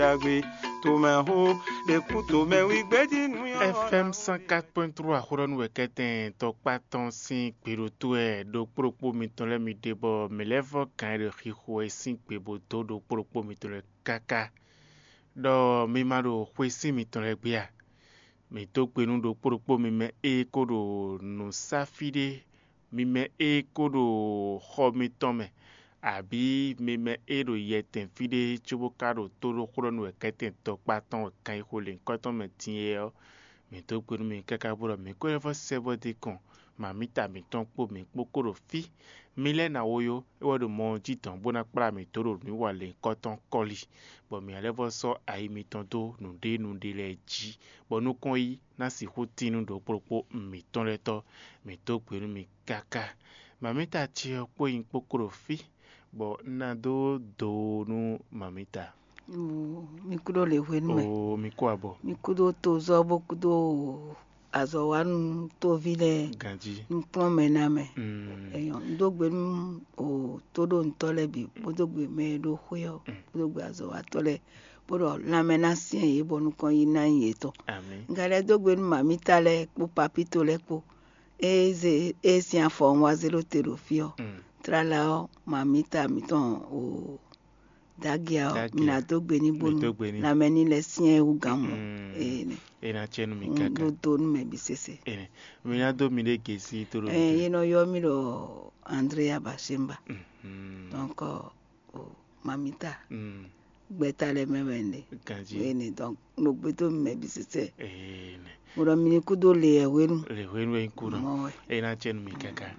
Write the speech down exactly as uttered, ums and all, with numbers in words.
Yagbe, tomɛxó, ɖe kú tomɛwí gbéjí nú yɔ. F M cent quatre point trois Xwlɔ́nú wɛ kɛtɛn tɔkpá tɔn sín gbeɖotó wɛ ɖokpóɖokpó mitɔn lɛ́ɛ mi ɖe bɔ mǐ lɛ́ vɔ́ gǎn e ɖo xixo wɛ sín gbe bó dó ɖokpóɖokpó mitɔn lɛ́ɛ káká, ɖɔ mi ma ɖo xwesí mitɔn lɛ́ɛ gbé a? Mǐ dó gbe nú ɖokpóɖokpó mi mɛ e ko ɖo nǔ sá fí ɖé, mi mɛ e ko ɖo xɔ mitɔn mɛ, abǐ mi mɛ e ɖo yɛtɛn fí ɖé cóbó ka ɖo tó ɖó xwlɔ́ nú wɛ kɛ́tɛn tɔkpá tɔn wɛ kan yi xo lěhunkɔtɔn mɛ din é ɔ́, mǐ dó gbe nú mi káká bó ɖɔ mǐ ko lɛ́ vɔ́ sɛ́ vɔ́ dó kɔn, mami ta mǐtɔn kpó mǐ kpó ko ɖo fí. Mi lɛ́ ná wo yó, é wɛ ɖo mɔ ɔ́ jí dɔn bó ná kplá mǐ dó ɖo nǔwiwa lěhunkɔtɔn kɔ́li, bɔ mǐ ná lɛ́ vɔ́ sɔ́ ayi mitɔn dó nǔɖé nǔɖé lɛ́ɛ jí, bɔ nukɔn yí ná sixú tín nú ɖokpóɖokpó mǐtɔn lɛ́ɛ tɔ́. Mǐ dó gbe nú mi káká. Mamita ce ɔ́ kpó nyi kpókpó ɖo fí, bɔ un ná dó do nú mamita. Mi kúdó le hwenu mɛ. Oo, mi kú abɔ. Mi kúdó tozɔ́ bó kúdó azɔ̌wanú tóví lɛ́ɛ. Ganjí. Nukplɔ́nmɛ ná mɛ. Mm. Eyɔn, un dó gbe nú o tóɖónutɔ́ lɛ́ɛ bǐ, bó dó gbe mɛ e ɖo xwé ɔ́, bó dó gbe azɔ̌watɔ́ lɛ́ɛ, bó ɖɔ lanmɛ ná syɛ́n yě bɔ nukɔn yí ná nyí yětɔn. Amǐ. Un ka lɛ́ dó gbe nú mamita lɛ́ɛ kpó papíto lɛ́ɛ kpó. Ée zé ée sín afɔ ɔ́ wá zé ɖó te ɖo fí ɔ́, Mm. tlala ɔ́, mamita mǐtɔn o dagea ɔ́, Dagea. Mi ná dó gbe ní Mi bónú dó gbe ní. Lanmɛ ní lɛ́ syɛ́n wú gán mɔ. Mm. Ee nɛ. E ná cɛ nú mi Un káká. Ɖó do nú mɛ bǐ sese. Ene. Mi ná dó mi ɖé gesi tó ɖo Ɛ mi. Yé nɔ yɔ mì ɖɔ Andrea Bashemba. Mhm. Donc o mamita Mm. Gbɛta lɛ mɛ wɛ ne. Ganji. Ene donc no gbe dó mɛ bǐ sese. Ene. Mo ɖɔ mi ní kúdó le ɛ hwenu. Le hwenu e kú nɔ. Mɔ wɛ. E ná cɛ nú mi káká.